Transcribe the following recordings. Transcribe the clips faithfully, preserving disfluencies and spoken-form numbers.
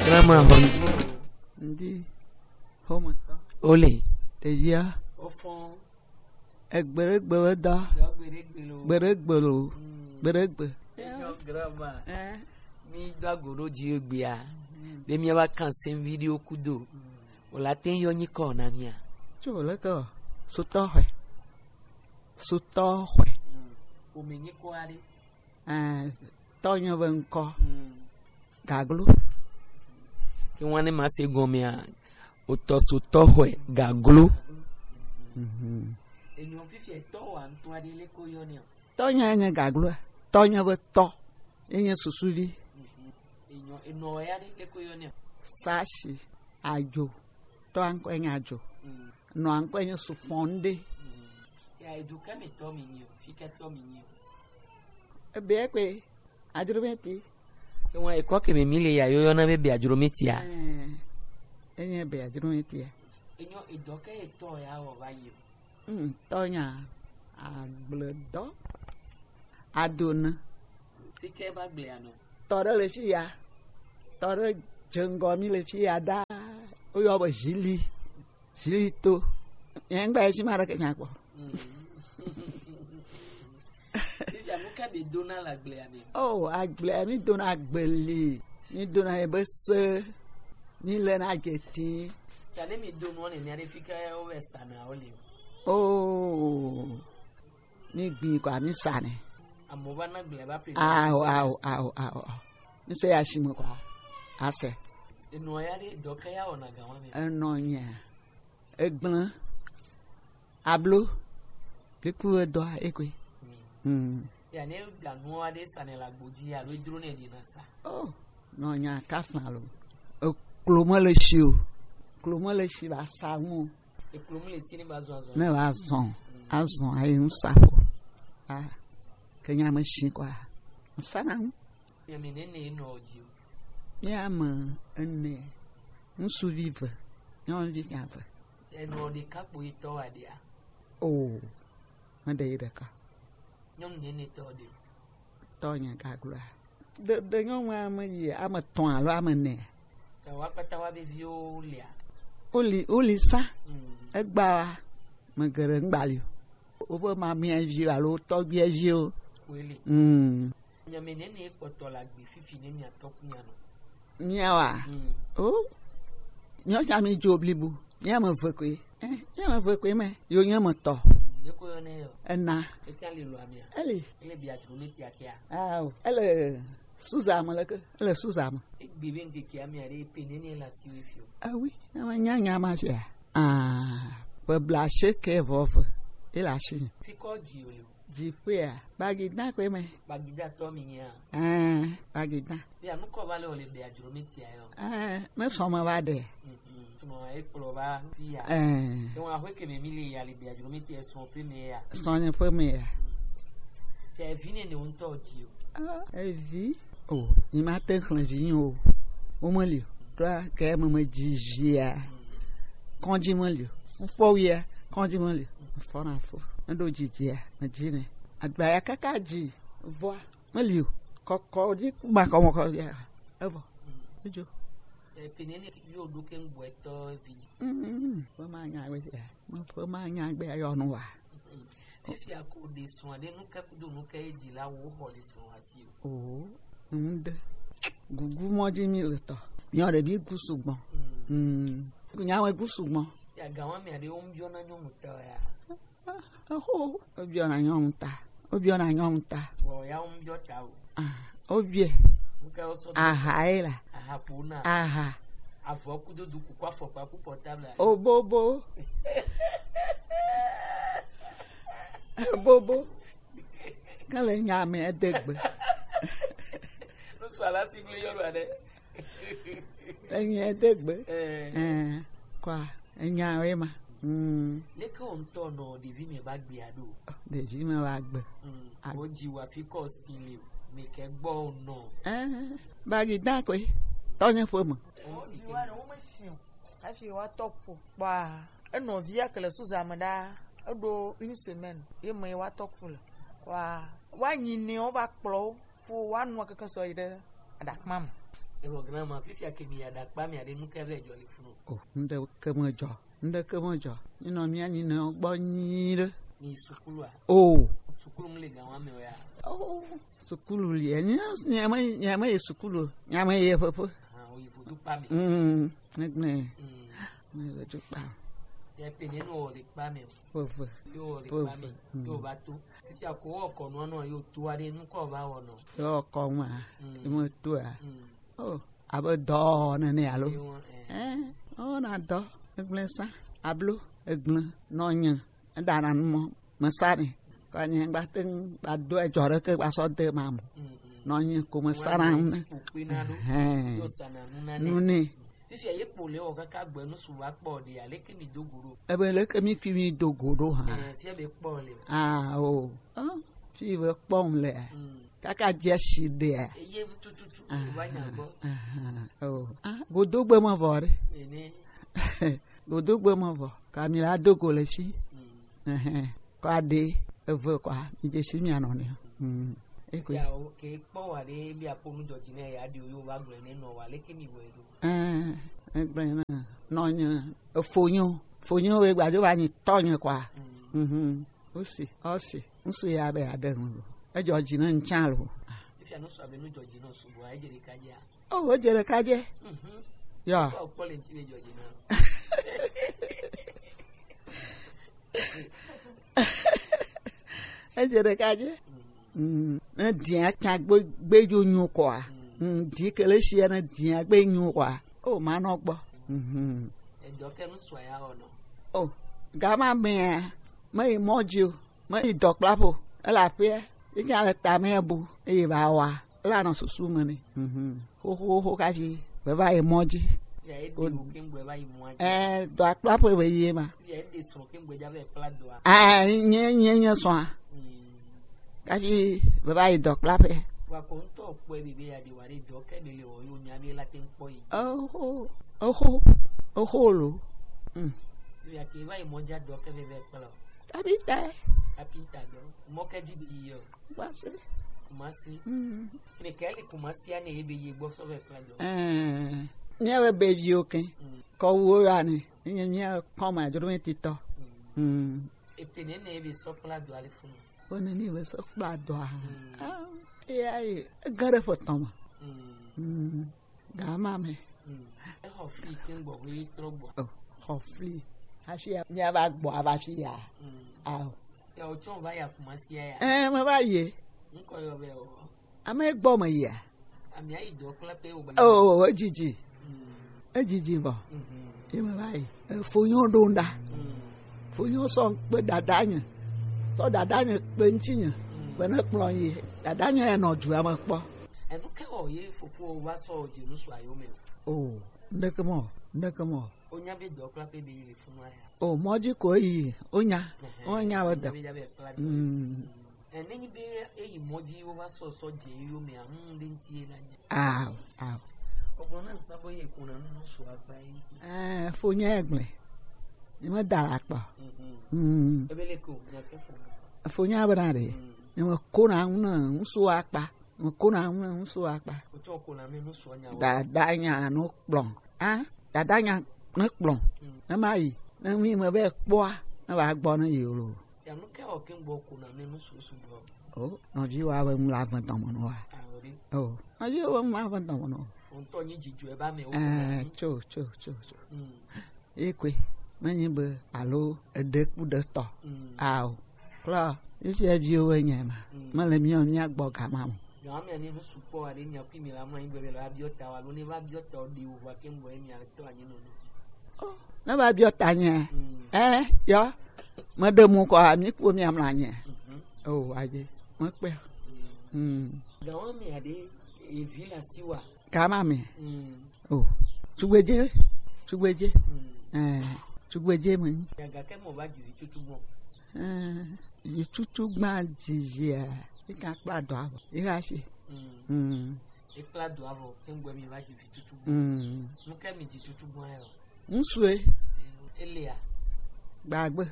Grandma, hon-, ndi, hometɔ. Ole. Ɖevia. Ofɔn. Egbeɖegbe be dɔ. Dɔ gbeɖegbe lo. Gbeɖegbe lo. Mm. Gbeɖegbe. Enyo grandma. Eh. Mi do ago ɖo dzi egbea. Mm. Be mi va kan sen video kudo. Mm. Wòle ate ŋu yɔ nyikɔ na mía. Tso leke o? Sutɔ xɔe. Sutɔ xɔe. Mm. Ƒome nyikɔ aɖe. Eh, tɔnye be ŋkɔ. Mm. Gaglo. Ke wane ma se gɔmea, wotɔ sutɔ xɔe Gaglo. Mhm. Enyo fifia tɔ wa ŋutɔ aɖe le ko yɔ ne o. Tɔnye nye Gaglo. Tɔnye be tɔ. Enye susuvi. Mhm. Enyo, enɔ ya ɖe le ko yɔ ne o. Sashi. Adzo. Tɔa ŋkɔe nye Adzo. Mm. Nɔa ŋkɔe nye Sufɔnde. Mm. Ya, edu ke mi tɔ mi nyi o, fi ke tɔ mi nyi o. Ebe kpe, Adzrometi. Ke ŋua ekɔ ke mi mi le ya yɔyɔ na be be Adzrometia. Eh, enye be Adzrometia. Enyo edɔ ke etɔ ya wɔ va yi o. Mm, tɔnya, agbledɔ, adona. Fi ke va gblea nɔ? Tɔ ɖe le fi ya. Tɔ ɖe dze ŋgɔ mi le fi ya ɖaa. Woyɔ be Zili. Zili to. Nye ŋgba ye fi ma ɖe ke nya kpɔ. Mm. Fifia, nu ka mi dona le agblea me? Oh, agblea mi dona agbeli. Mi dona ye be se. Mi le na geti. Ta ne mi do nua ne mi aɖe fi ke wo be sana wo le. Oh. Mi gbi kɔ mi sane. Amewo va na gblẽ va ƒle. Ao, ao, ao, ao, ao. Mi se ya si me kɔ. Ase. Enɔ ya ɖe dɔ ke ya wɔna ga wɔna. Enɔ nya. Egblẽ. Ablo. Liku edɔ ekoe. Hmm. Ya ne da nua ɖe sane la gbodzi alo edro ne ɖi na sa. Oh, nɔ nya kafla lo. Eklo me le si o. Eklo me le si ba sa ŋu. Eklo mu le si ne va zɔn azɔn. Ne va zɔn, azɔn ayi ŋu sa ko. Ah, ke nya me si kɔa, ŋsa na ŋu. Ame nene ye nɔ dzi o. Mía ame ene, ŋutsuvi ve, nyɔnuvi nya ve. Enɔ ɖeka kpo yi tɔ wa ɖea? O, me ɖe yi ɖeka. Nyɔnu nene tɔ ɖe. Tɔ nye gagloa. Ɖe, ɖe nyɔnua me yi ame etɔ̃ alo ame ene. Ke woa kpata woa be viwo lia? Woli, woli sa. Mm. Egba wa. Me geɖe ŋgba li o. Woƒe mamea viwo alo tɔgbuia viwo. Woli. Mm. Nyame nene kpɔtɔ la gbe fifi ne mia tɔ ku mia nɔ. Miawa. Mm. O. Nyɔ cha mi dzo blibu. Mia me ve koe. Eh, mia me ve koe me. Yo nye me tɔ. Mm, ye ko yo ne yo. Ena. Eta le lo amia. Eli. Ele bia dro ne ti akia. Ah, ele Suza me leke. Ele Suza me. Egbe be ŋkeke amia ɖe pe ne ne la si we fio. Ah oui, na ma nya nya ma sia. Ah, pe bla se ke vɔ ve. Ele asi. Fi kɔ dzi o le o. Dziƒea, Bagida koe me. Bagida tɔ mi nya. Eh, Bagida. Ya nu kɔ va le o le be adro mi ti ayo. Eh, me sɔ ma va de. Mhm. Sɔ ma e kplɔ va fi ya. Eh. Ke wa hwe ke me mi le ya le be adro mi ti e sɔ pe me ya. Sɔ nye pe me ya. Ke vi ne ne ŋutɔ dzi o. Ah, evi. O, ni ma te xlẽ vi nyo o. O me li o. Ɖoa ke me me dzi via. Kɔdzi me li o. Ŋkpɔ wia, kɔdzi me li o. Fɔ na fo. Ne ɖo dzidzia, me dzi ne. Agbaya kaka dzi. Vɔa, me li o. Kɔkɔ dzi ma kɔ mɔ kɔ ya. Evo. Edzo. Epinene yo do ke ŋgbɔtɔ vi. Mm, mm, mm. Ƒe ma nya we ya. Me ƒe ma nya gbe ayɔ nu wa. Fifia ko ɖe srɔ̃a ɖe nu ke kudo nu ke dzi la wo xɔ le srɔ̃a si o. Oo, ŋu ɖe. Gugu mɔ dzi mi le tɔ. Miɔ ɖe bi gu sugbɔ. Mm. Mm. Nya we gu sugbɔ. Ya gawa mi aɖe wo biɔ na nyɔnu ta ya. Oho, wo biɔ na nyɔnu ta. Wo biɔ na nyɔnu ta. Vɔ ya wo biɔ ta o. Ah, wo biɛ. Wo ke wo sɔ. Aha ye la. Aha po na. Aha. Avɔ kudo du kuku afɔkpa ku portable. Obobo. Bobo. Kale nya me edegbe. Nusu ala si ble yɔlu aɖe. Enye edegbe. Eh. Eh, kwa, enya we ma. Mm. Leke wo ŋutɔ nɔ ɖevi me va gbea ɖo? Ɖevi me va gbe. Mm. A- Wo dzi wa fi kɔ si le o. Me ke gbɔ o nɔ. Eh, Bagida koe. Tɔnye ƒe me. Wo dzi wa ɖe wo me si o. Hafi woatɔ ƒo kpɔa, enɔvia ke le Suza me ɖaa, eɖo une semaine ye me ye woatɔ ku le. Kɔa, woanyi nɛ wova kplɔ wo, fo woanɔ keke sɔ yi ɖe aɖakpa me. Ebo grandma, fifia ke mi ya ɖakpa mi aɖe nu ke vɛ jɔ le funu. O, ŋɖe ke me jɔ, ŋɖe ke me jɔ. Mi nɔ mia nyi ne gbɔ nyi ɖe. Mi sukulua? O. Sukulu ŋle gan wa me ya. O, sukulu li. Nya me, nya me ye sukulu. Nya me ye pepe. Ah, o yi foto pa mi. Mm, ne ne. Mm. Ne le tu pa. Ya pe ne no le pa mi. Pepe. Yo le pa mi. Pepe. Mm. Yo ba to. Fifia ko wo kɔ nua nɔ yo to aɖe nu kɔ va wɔ nɔ. Yo kɔ ma. Mm. Mo to a. Mm. O, abe dɔ nene alo? Ewɔ, eh. Eh, o na dɔ, egblẽ sa, ablo, egblẽ, nɔ nye, eɖana nu mɔ, me sa nɛ. Kɔ nye gba te ŋu gba do edzɔ ɖeke gba sɔ de ma mo. Mm, mm. Nɔ nye ko me sa na nu ne. Kpokpe na ɖo. Ehɛn. Yo sa na nu na ne. Nu ne. Fifia ye kpo le wɔ kaka gbe nu su va kpɔ ɖe, aleke mi do go ɖo? Ebe leke mi kui mi do go ɖo hã? Eh, fia be kpɔ le. Ah, o. Ah, fi be kpɔm le. Mm. Kaka dze si ɖea. Eye tututu. Aha, va nya gbɔ. Aha, oh. Ah, godogbe me vɔ ɖe. Ene. Godogbe me vɔ. Ka mi la do go le fi. Mm. Ehɛn. Kɔ aɖe eve kɔa, mi dze si mi anɔ ne. Mm. Ekwe. Ya, o ke kpɔ wa ɖe bi apo nu dzɔdzi ne ya ɖi o yo va gblɔ ne nɔ wa leke mi wɔ ɖo. Eh, egblẽ na. Nɔ nye, efonyo, fonyo we gbadzo va nyi tɔ nye kɔa. Mm. Mhm. Osi, osi. Ŋsu ya be aɖe ŋu lo. Edzɔ dzi ne ŋtsã lo. Efia nu sɔ abe nu dzɔ dzi nɔ sugbɔ, edze ɖeka dzia? Oh, edze ɖeka dze. Mhm. Ya. Kpɔ, kpɔ le ŋti be dzɔ dzi na. Edze ɖeka dze. Mm. Mm. Ne dia tsa gbe, gbe dzo nyo kɔa. Mm. Mm, di ke le sia ne dia gbe nyo kɔa. Oh, ma nɔ gbɔ. Mhm. Edɔ ke nu sɔ ya wɔ nɔ. Oh, gama mea, me yi mɔ dzi o. Me yi dɔkplaƒe o. Ele aƒea. Yi nya le tame bu. Eye va wa. Ele anɔ susu me nɛ. Mhm. Xoxoxo kafi. Be va yi mɔ dzi. Ya, e de o ke ŋgbe va yi mɔ dzi. Eh, dɔkplaƒe be yi ma. Ya, e de srɔ̃ ke ŋgbe dza va yi kpla dɔa. Ah, nye, nye, nye srɔ̃a. Mm. Kafi be va yi dɔkplaƒe. Wa ko ŋutɔ kpɔe be, be ya de wa ɖe dɔ ke ɖe le wɔ yo nya be la te ŋkpɔ yi. Oho, oho, oho lo. Mm. Yo ya ke va yi mɔ dzi adɔ ke veve kpla o. Kapita. Kapita dɔ. Mɔ ke dzi bi yi o. Kumasi. Kumasi. Mm. Ne ke li Kumasi ane ye be ye gbɔ sɔ ve kpla dɔ. Eh, mía be beviwo ke. Mm. Kɔ wo ya ne. Nye mía kpɔ ma dro me titɔ. Mm. Mm. Epe ne ne ye be sɔ kpla dɔ ale funu. Wo ne ni be sɔ kpla dɔa. Mm. Ah, e ya ye. Gare fo tɔma. Mm. Mm. Gama me. Mm. Exɔ fli ke ŋgbɔ ʋe trɔ gbɔ. Oh, xɔ fli. Hafi ya, mía va gbɔ ava fi ya. Mm. Ao. Ya o tsɔ va ya Kumasi ya. Eh, me va yi. Ŋkɔ yɔ be o. Ame gbɔ me yia. Ami ayi dɔ kple pe o ba. Oh, edzidzi. Mm. Edzidzi vɔ. Mhm. Ye me va yi. Eh, fonyo ɖo ŋɖa. Mm. Fonyo sɔ kpe dada nye. Sɔ dada nye kpe ŋtsi nye. Mm. Be ne kplɔ yi. Dada nye enɔ dua me kpɔ. Enu ke wɔ ye fofo va sɔ dze nu sɔ ayo me. Oh, ŋɖeke mɔ, ŋɖeke mɔ. Wonya be dɔkplaƒe be yi le funu aya. O mɔ dzi ko yi, wonya. Ehɛ, wonya be dɔ. Be ya be kpla dɔ. Mm. Ɛ, nenyi be eyi mɔ dzi wova sɔ sɔ dze yo me amu ɖe ŋti ye na nya. Ao, ao. Ogbɔ na sa bo ye ko na nu so agba yi ŋti. Eh, fo nya egble. Ni me da la kpa. Mhm. Mm. Ebe le ko, nya ke fo. Fo nya be na de. Mm. Ni me ko na nu na so akpa. Ŋkona ŋu ŋu so akpa. Wotsɔ kona mi nu sɔ nya wo. Dada nya no kplɔn. A, dada nya ne kplɔn. Mm. Ne ma yi, ne mi me be kpɔa, ne va gbɔ ne yi lo. Ya nu ke o ke gbɔ kona mi nu susu gbɔ. O, nɔvi wa be ŋu la vɛ tɔmɔ no wa. A, o de. O, nɔvi wa ŋu la vɛ tɔmɔ no. O ŋutɔ nyi dzidzɔ e ba me o. Eh, tso, tso, tso, tso. Mm. Ye koe, menye be alo eɖe ku ɖe tɔ. Mm. Ao. Kpla, ye fia viwo be nye ma. Mm. Mele mía, mía gbɔ gama mo. Gama mea ne nu sukpɔ aɖe mia kui mi la mlɔ anyi gbe be la biɔ ta wa lo ne va biɔ ta o ɖe wo vɔ ke ŋgɔ ye mia le tɔ anyi nɔ. Oh, ne va biɔ ta nye. Mm. Eh, yɔ. Me ɖe mo kɔ, mi ku mia mlɔ anyi. Mhm. Oh, aje. Me kpe. Mm. Mm. Gawa mea ɖe evi la si wa. Kama me. Mm. Oh, tugbedze, tugbedze. Mm. Eh, tugbedze me nyi. Gake mo va dzi vi tutu gbɔ. Eh, vi tutu gba dzizia, ika kpla dɔ avɔ. Ika fi. Mm. Mm. E kpla dɔ avɔ, ke ŋgbe mi va dzi vi tutu gbɔ. Mm. Nu ke mi dzi tutu gbɔ ya o. Ŋsue. Elia. Gbagbe.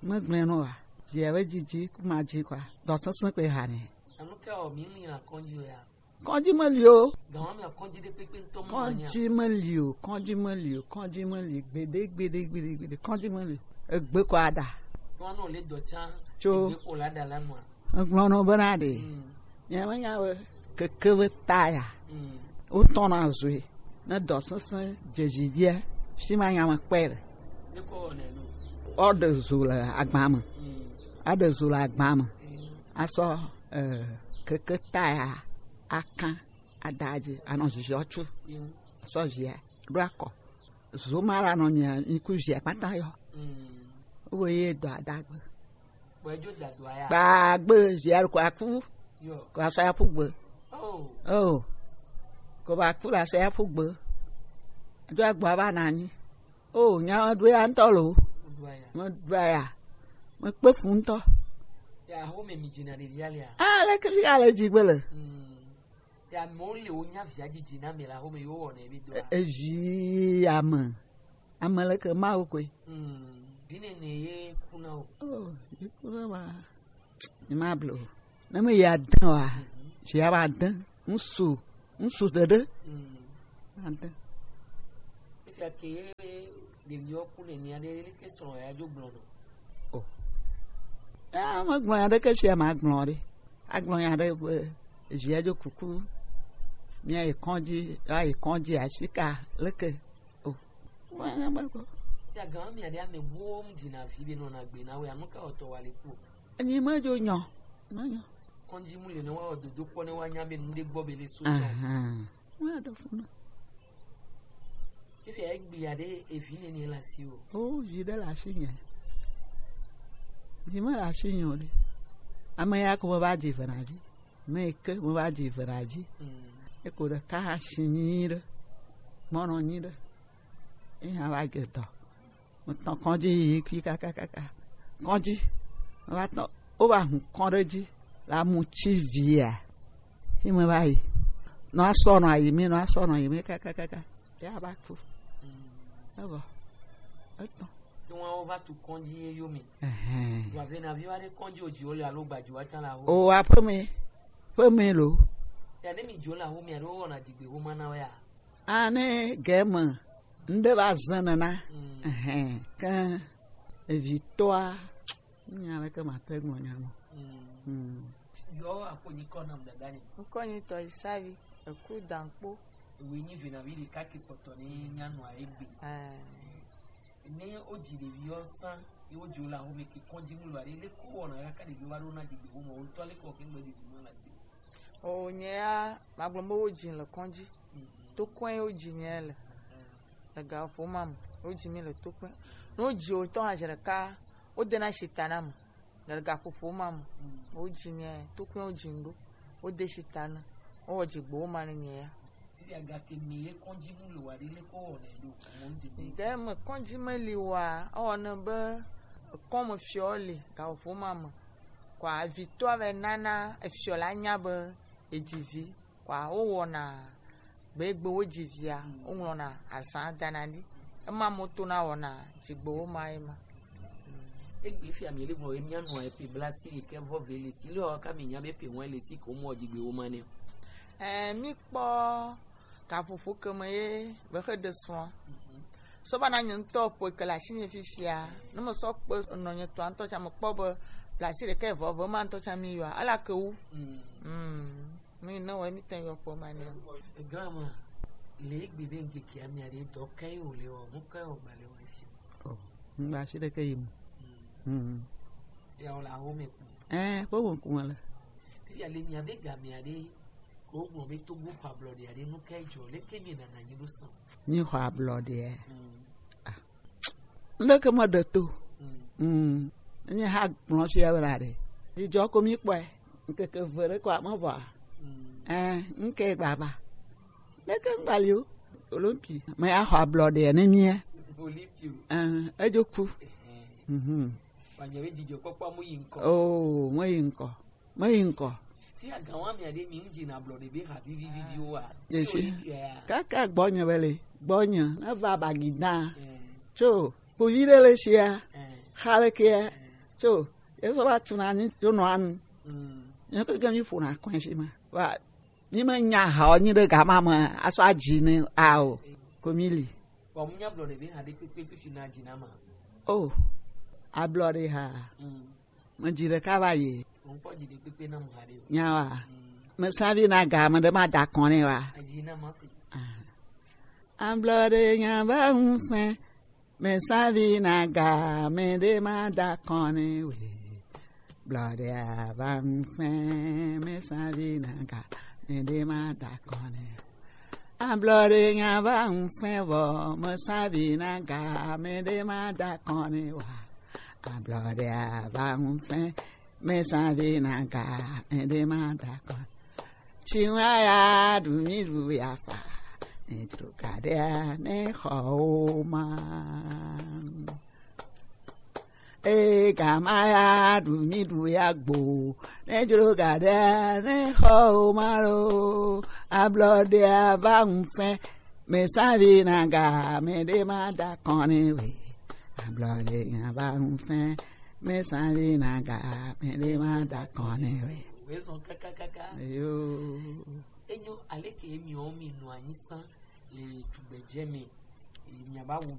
Megblẽ nɔ wa. Dzia be dzidzi kuma dzi kwa. Dɔ sesẽ kpe ha ne. Enu ke o mi mi na kɔndzi o ya. Kɔdzi meli o. Gawa me kɔdzi de kpekpe ŋutɔ mɔ nya. Kɔdzi meli o, kɔdzi meli o, kɔdzi meli gbede, gbede, gbede, gbede, kɔdzi meli o. Egbe kɔ ada. Ŋua no le dɔ tsa. Tso. Egbe ko la da la ŋua. Egblɔ nɔ bena ɖe. Mm. Nye me nya be keke be ta ya. Mm. Wo tɔna zoe. Ne dɔ sese dzedzi dia, si ma nya me kpɛ le. Ne ko ne no. Ɔɖe zo le agba me. Mm. Aɖe zo le agba me. Mm. Asɔ, eh, keke ta ya akã adadzi anɔ ziziɔ tsu. Mm. Sɔ zia ɖo akɔ. Zo ma la nɔ mia mi ku zia kpata yɔ. Mm. Wo ye dɔ adagbe. Kpagbe zia ko aku. Yo. Ko asɔ ya ƒu gbe. Oh. Oh. Ko ba ku la asɔ ya ƒu gbe. Do agbo aba na anyi. Oh, nya ɖo ya ŋutɔ lo. Ɖo ya. Me ɖo ya. Me kpe fu ŋutɔ. Ya ho me mi dzina ɖe via lia. Ah, le ke fi ale dzi gbe le. Mm. Ya mo le wo nya via dzidzi na me la ho me yo wo ne bi do. E-, evi ame. Ame leke Mawu koe. Mm. Vine ne ye kuna o. Oh, ye kuna ma. Ni ma blo. Na me ya dan wa. Mhm. Je ya ba dan. Ŋsu, ŋsu ɖeɖe. Mm. Ade. Efia ke ɖeviwo ku nenia ɖe, leke srɔ̃ ya dzo gblɔ nɔ? O. Ya, megblɔ nya ɖeke fia magblɔ ɖe. Agblɔ nya ɖe be, via dzo kuku. Mia yi kɔdzi, ya yi kɔdzi asika, leke. O. Wa nya ba ko. Ya gan mi ade ame wo mu dzina vi be nɔ na gbe na we, anu ka oto wa le ku. Enyi me dzo nyɔ. Me nyɔ. Kɔndzi mu le ne wa dodo kpɔ ne wa nya be nu ɖe gbɔ be le so tsɔ. Ahan. Wa do funa. Efi egbe ya ɖe evi ne ne la si o. O, vi ɖe la si nye. Vi me la si nye o ɖe. Ame ya ko me va dzi ve na dzi. Me ke me va dzi ve na dzi. Mm. Eko ɖeka hã si nyi ɖe. Mɔnɔ nyi ɖe. Eya va ge dɔ. Metɔ kɔdzi yi kui kakakaka. Kɔdzi. Meva tɔ, wova hu kɔ ɖe dzi. La mu tsi via. Yi me va yi. Nɔ asɔ nɔ ayi mi, nɔ asɔ nɔ ayi mi kakakaka. Ya va ku. Evɔ. Etɔ. Ke wọn wo va tu kɔdzi ye yo mi. Ɛhɛn. Wa ve na vi wa ɖe kɔdzi o dzi wo le alo gbaji wa tsa la ho. O aƒe me. Ƒe me lo. Ya ne mi dzo la ho mi alo wɔna digbe ho ma na wa ya. Ane gɛme ŋɖe va zẽ nena. Mm. Ɛhɛn, ke evitɔa, nya leke mate gblɔ nya me. Mm. Mm. Yɔ akpo nyi kɔ nam dada ni. Ŋkɔ nyi tɔ Isavi, eku dankpo. Ewe nyi venavi ɖeka ke kpɔtɔ ni nya nɔ egbe. Eh. Ne wodzi ɖevi yɔ sã, ye wodzi wo le ahome ke kɔdzi mu lo aɖe, leke wowɔna kaka ɖevi wa ɖo na dzigbe wo me, wo ŋutɔ leke wɔ ke ŋgbe ɖevi ma le asi. O, nye ya, magblɔ be wodzi le kɔdzi. Mhm. Tokɔe wodzi nye le. Mhm. Le gaƒoƒo ma me, wodzi mi le Tokɔe. Ne wodzi wo tɔ hã zi ɖeka, wodena shi ta na me. Le gaƒoƒo ma me, mm, wodzi nye, Tokɔe wodzi ɖo. Wode shi ta na. Wowɔ dzigbewo ma ne nye ya. Eya gake mi ye kɔdzi mu lo wa ɖe leke wowɔnɛ ɖo? Mo ŋdi ɖe. Ɖe me kɔdzi meli wa, ewɔ ne be ekɔme fiɔ le gaƒoƒo ma me. Kɔa vitɔa vɛ nana efiɔ la nya be edzi vi. Kɔa wowɔna gbegbe wodzi via, mm, woŋlɔna azã dana ɖi. Ema mo to na wɔna dzigbewo ma ye ma. Egbe fia mi le gblɔ ye mia nɔ epe bla si ɖekɛ vɔ ve le si le wa ka mi nya be pe wɔn le si ko mɔ dzigbewo ma ne. Eh, mi kpɔ gaƒoƒo ke me ye be xe ɖe srɔ̃a. Mhm. Sɔ va na nye ŋutɔ ƒoe ke le asinye fifia. Ne me sɔ kpe nɔ nye tɔa ŋutɔ tsa me kpɔ be blasi ɖeka vɔ ve ma ŋutɔ tsa mi yɔa. Ela ke wu. Mm. Mm. Mi ne wɔ mi te yɔ kpɔ ma ne. Grandma, le egbe be ŋkeke amia ɖe dɔ ka ye wòle wɔ, nu ka ye wògba le wɔ efi? Oh, ŋgba si ɖeke yi mu. Mm. Mm. Ya wòle awo me ku. Eh, ƒe me ku me le. Fifia le mia be gamea ɖe Ko gblɔ be Togo xɔ ablɔɖe aɖe, nu kae dzɔ? Leke mi nana nyi ɖo sã? Mi xɔ ablɔɖea? Mm. Ah. Leke me ɖe to? Mm. Mm. Mi ha gblɔ sia be na ɖe. Mi dzɔ ko mi kpɔe. Ŋkeke ve ɖe ko ame vɔa. Mm. Eh, ŋke gbava. Leke ŋgbali o. Olympi. Me ya xɔ ablɔɖea ne mia. Olympi o. Eh, edzo ku. Eh. Mhm. Wanya be dzidzɔkpɔkpɔ mu yi ŋkɔ. Oh, me yi ŋkɔ. Meyi ŋkɔ. Fia gawa mia ɖe mi ŋdzi na blɔ ɖe be ha vivi vivi wa. Yesi. Kaka gbɔnye be le, gbɔnye, ne va bagida. Eh. Tso, kpovi ɖe le sia, eh, xa le kea, eh, tso, ye sɔ va tu na ni, yo nɔ anu. Mm. Nye keke mi ƒo na kɔe fi ma. Va, Mi me nya ha o nyi ɖe gama me aso adzi ne a o. Ko mi li. Bon, mu nya blɔ ɖe be ha ɖe kpekpe fifi na dzi na ma. O, ablɔ ɖe ha. Mm. Me dzi ɖeka va yi. Ŋkpɔ dzi ɖe kpekpe na mu ha ɖe o. Nya wa. Mm. Me savi na ga me ɖe ma da kɔn ne wa. Adzi na ma si. Ah. Ablɔ ɖe nya va ŋfɛ. Me savi na ga me ɖe ma da kɔn ne we. Blɔ ɖe a va ŋfɛ. Me savi na ga me ɖe ma da kɔn ne. Ablɔɖe nya va ŋfɛ vɔ, me savi na ga me ɖe ma da kɔn ne wa. Ablɔɖe a va ŋfɛ, me savi na ga me ɖe ma da kɔn. Tsi wa ya ɖu mi ɖu ya fa, ne dro ga ɖe ne xɔ wo ma. Ee, gama ya ɖu mi ɖu ya gbo. Ne dzro ga ɖe ne xɔ o ma lo. Ablɔ ɖe a va ŋu fɛ. Me savi na ga me ɖe ma da kɔn ne we. Ablɔ ɖe ya va ŋu fɛ. Me savi na ga me ɖe ma da kɔn ne we. Wezɔn kakakaka. Yo. Enyo, aleke mi o mi nɔ anyi san le tugbedze me. Mi aba wu do